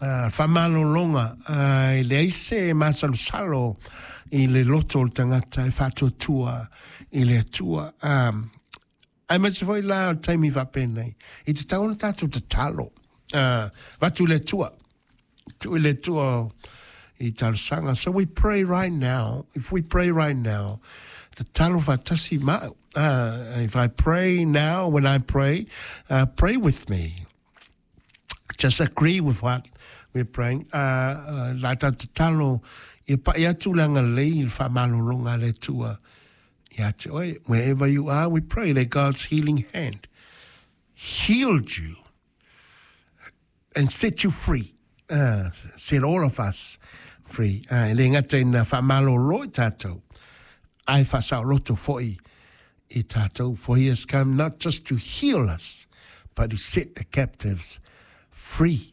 Faamalologa, e leai se masalosalo i le loto o le tagata e faatuatua i le Atua. Aemaise foi la o le taimi faapenei, e tatau ona tatou tatalo. Avatu i le Atua, tuu i le Atua i talosaga. So we pray right now, if we pray right now, tatalo faatasi ma au. If I pray now, when I pray, pray with me. Just agree with what we're praying. La tatou tatalo ia pai atu le agalelei i le faamalologa a le Atua ia te oe. Wherever you are, we pray that God's healing hand healed you and set you free. Set all of us free. E le gata ina faamalolo i tatou, ae faasaoloto foi i tatou. For he has come not just to heal us, but to set the captives free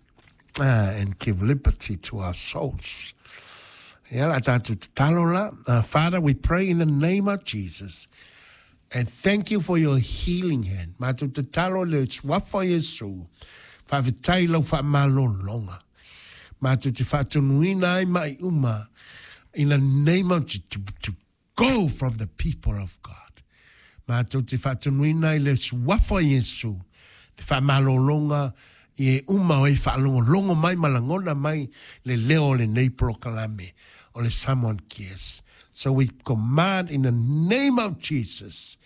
and give liberty to our souls. Ia la tatou tatalo la. Father, we pray in the name of Jesus. And thank you for your healing hand. Matou tatalo i le suafa o Iesu. Faafetai i lau faamalologa. Matou te faatonuina ai mai uma in the name of Jesus to, to go from the people of God. Matou te faatonuina i le suafa o Iesu le faamalologa i e uma o e faalogologo mai ma lagona mai le leo o lenei polokalame o le Samoan Cares. So we command in the name of Jesus,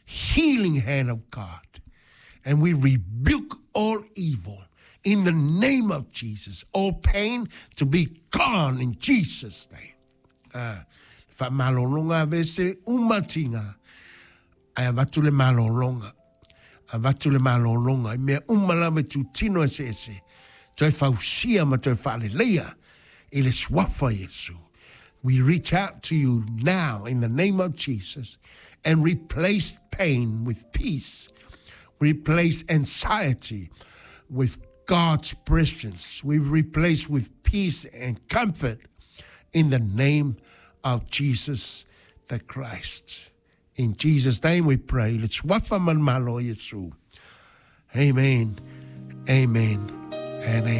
healing hand of God, and we rebuke all evil in the name of Jesus, all pain to be gone in Jesus' name. Ah, faamalologa aveese uma tiga, ae avatu le malologa. Avatu le malologa i mea uma lava e tutino eseese, toe fausia ma toe faaleleia i le suafa o Iesu. We reach out to you now in the name of Jesus and replace pain with peace. Replace anxiety with God's presence. We replace with peace and comfort in the name of Jesus the Christ. In Jesus' name we pray. Le suafa ma le Malo o Iesu. Amen. Amen. And amen.